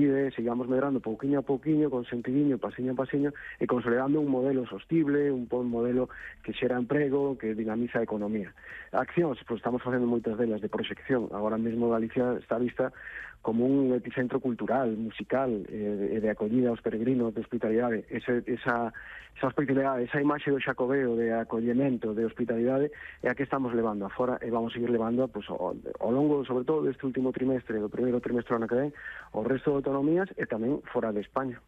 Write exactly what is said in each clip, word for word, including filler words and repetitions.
e sigamos medrando pouquiño a pouquiño, con sentidiño, pasiño a pasiño, e consolidando un modelo sostible, un bon modelo que xera emprego, que dinamiza a economía. Accións, pois estamos facendo moitas delas de proxección. Agora mesmo Galicia está vista como un epicentro cultural, musical, e de acollida aos peregrinos, de hospitalidade. Ese, esa, esa hospitalidade, esa imaxe do Xacobeo de acollemento, de hospitalidade, é a que estamos levando afora e vamos seguir levando pues, ao, ao longo, sobre todo, deste último trimestre, do primeiro trimestre do ano que ven, ao resto de autonomías e tamén fora de España.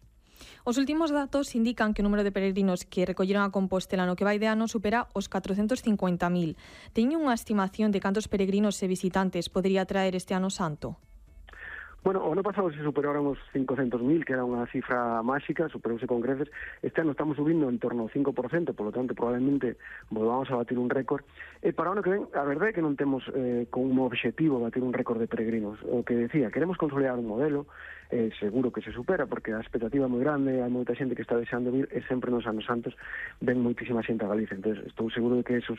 Os últimos datos indican que o número de peregrinos que recolleron a Compostela no que vai de ano supera os catrocentos cincuenta mil. Teñen unha estimación de cantos peregrinos e visitantes podería traer este ano santo? Bueno, o ano pasado se superaron os cincocentos mil, que era unha cifra máxica, superouse con creces. Este ano estamos subindo en torno ao cinco por cento, por lo tanto, probablemente volvamos a batir un récord. E para o ano que ven, a verdade é que non temos eh, como objetivo batir un récord de peregrinos. O que decía, queremos consolidar un modelo, eh, seguro que se supera, porque a expectativa é moi grande, hai moita xente que está deseando vir, e sempre nos anos santos ven moitísima xente a Galicia. Entón, estou seguro de que esos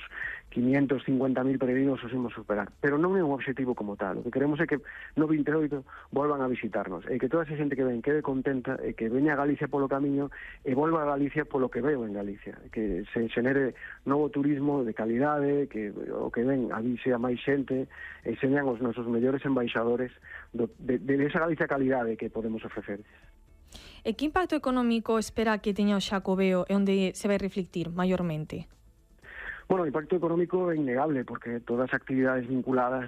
quinientos cincuenta mil peregrinos os imos superar. Pero non é un objetivo como tal. O que queremos é que no vinte e oito volvan a visitarnos, e que toda esa xente que ven quede contenta, e que veña a Galicia polo camiño e volva a Galicia polo que veo en Galicia, que se xenere novo turismo de calidade, que o que ven avise a máis xente, e señan os nosos mellores embaixadores do, de, de esa Galicia calidade que podemos ofrecer. E que impacto económico espera que teña o Xacobeo e onde se vai reflectir maiormente? Bueno, o impacto económico é innegable, porque todas as actividades vinculadas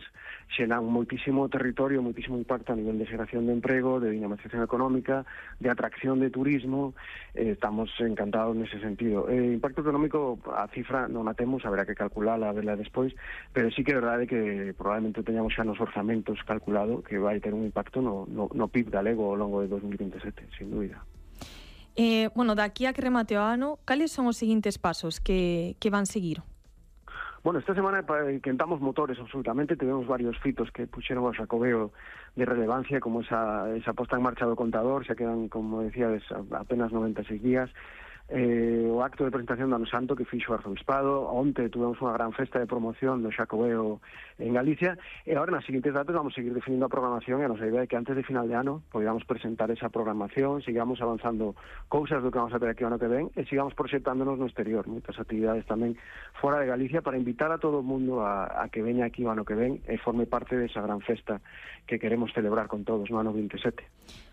xenan moitísimo territorio, moitísimo impacto a nivel de xeración de emprego, de dinamización económica, de atracción de turismo. Eh, estamos encantados nese sentido. O eh, impacto económico, a cifra non a temos, haberá que calcularla, a verla despois, pero sí que é verdade que probablemente teñamos xa nos orzamentos calculado que vai ter un impacto no, no, no P I B galego ao longo de dos mil vinte e sete, sin dúbida. Eh, bueno, daqui a que remate o ano, cales son os seguintes pasos que, que van seguir? Bueno, esta semana quentamos motores absolutamente, tivemos varios fitos que puxeron ao Xacobeo de relevancia, como esa, esa posta en marcha do contador, xa quedan, como decíades, apenas noventa e seis días. Eh, o acto de presentación do Ano Santo que fixo o Arzobispado. Onte tuvemos unha gran festa de promoción do Xacobeo en Galicia, e agora nas seguintes datas vamos seguir definindo a programación, e a nosa idea é que antes de final de ano podamos presentar esa programación, sigamos avanzando cousas do que vamos a ter aquí o ano que ven, e sigamos proxectándonos no exterior, moitas actividades tamén fora de Galicia, para invitar a todo o mundo a, a que veña aquí o ano que ven e forme parte desa gran festa que queremos celebrar con todos no ano vinte e sete.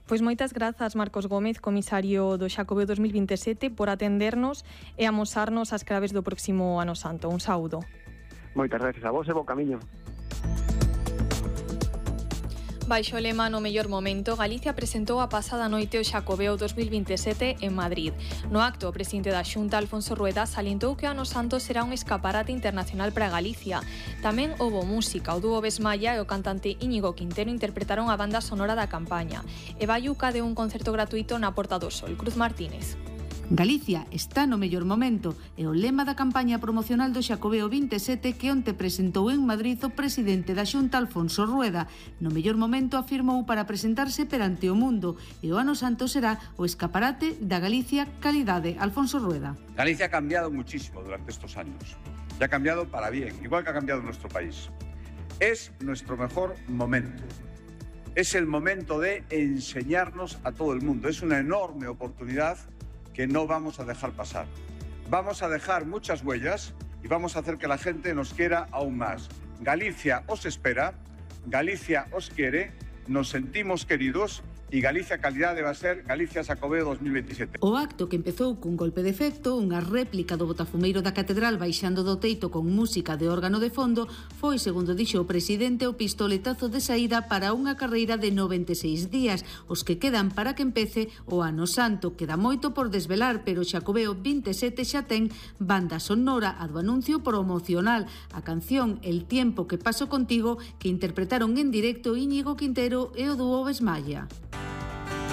Pois moitas grazas, Marcos Gómez, comisario do Xacobeo dos mil vinte e sete, por atendernos e amosarnos as claves do próximo Ano Santo. Un saúdo. Moitas gracias a vos e bo camiño. Baixo o lema No mellor momento, Galicia presentou a pasada noite o Xacobeo dos mil vinte e sete en Madrid. No acto, o presidente da Xunta, Alfonso Rueda, salientou que o Ano Santo será un escaparate internacional para Galicia. Tamén houbo música, o dúo Besmalla e o cantante Íñigo Quintero interpretaron a banda sonora da campaña. E Bayuca deu un concerto gratuito na Porta do Sol. Cruz Martínez. Galicia está no mellor momento e o lema da campaña promocional do Xacobeo vinte e sete que onte presentou en Madrid o presidente da Xunta, Alfonso Rueda. No mellor momento afirmou para presentarse perante o mundo, e o Ano Santo será o escaparate da Galicia calidade. Alfonso Rueda. Galicia ha cambiado muchísimo durante estos años y ha cambiado para bien, igual que ha cambiado nuestro país. Es nuestro mejor momento. Es el momento de enseñarnos a todo el mundo. Es una enorme oportunidad que no vamos a dejar pasar. Vamos a dejar muchas huellas y vamos a hacer que la gente nos quiera aún más. Galicia os espera, Galicia os quiere, nos sentimos queridos e Galicia Calidade va a ser Galicia Xacobeo dos mil veintisiete. O acto, que empezou cun golpe de efecto, unha réplica do botafumeiro da catedral baixando do teito con música de órgano de fondo, foi, segundo dixo o presidente, o pistoletazo de saída para unha carreira de noventa e seis días, os que quedan para que empece o Ano Santo. Queda moito por desvelar, pero o Xacobeo vinte e sete xa ten banda sonora, a do anuncio promocional, a canción El tiempo que paso contigo, que interpretaron en directo Íñigo Quintero e o dúo Besmalla.